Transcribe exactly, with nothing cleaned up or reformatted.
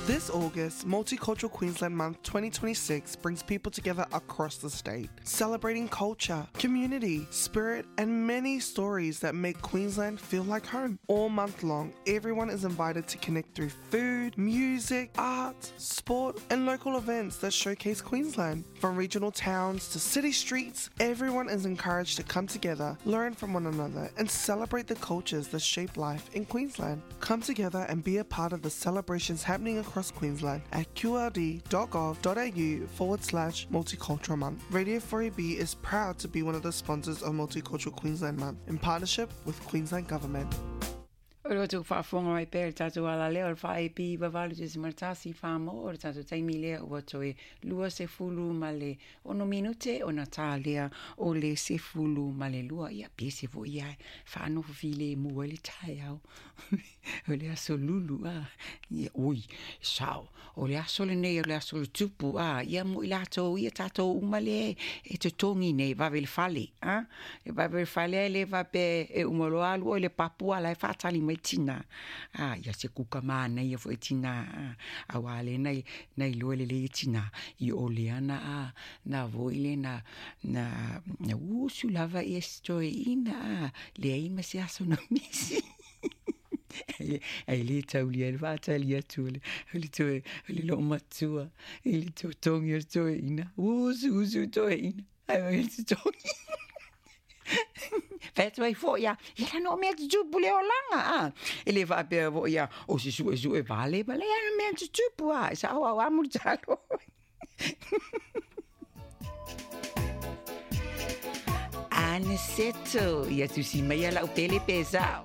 This August, Multicultural Queensland Month twenty twenty-six brings people together across the state, celebrating culture, community, spirit, and many stories that make Queensland feel like home. All month long, everyone is invited to connect through food, music, art, sport, and local events that showcase Queensland. From regional towns to city streets, everyone is encouraged to come together, learn from one another, and celebrate the cultures that shape life in Queensland. Come together and be a part of the celebrations happening across Queensland at qld.gov.au forward slash multicultural month. Radio four A B is proud to be one of the sponsors of Multicultural Queensland Month in partnership with Queensland Government. O le atu whaafonga mai pēr tātou ala leo, o le whaepi wavalu te simartasi whaamo, o le tātou taimi lea ua toe lua se fulu ma le ono minute o na tā lea o le se fulu ma le lua. Ia pese fo ia whaano file mua le tae au. O le aso lulu a. Ia ui, sao. O le aso le nei, o le aso le tupu a. Ia mo i lātou, ia tātou umale e te tongi nei, vave le fale. A? E vave le fale le vape e umalo alu o le papua la e whaatali mai tina. Ah, ia se kuka mana ia fo e tina. A wale nei, nei loe le le tina. I o le ana a, na voile na, na, na usu lava i estoe ina a. Le aima se aso na misi. Ai le tauli ai le whaatali atu le, le toe, le lo matua, i le toe tongi o toe ina. Usu, usu toe ina. Ai mai le tongi. Whētu ai fo ia, ia la no mea te tupu le olanga, a. E le whaapea fo ia, o se sue sue vale, ma le ana mea te tupu, a. Sa au au amu talo. Ane seto, ia tusi mai ala upele pesao.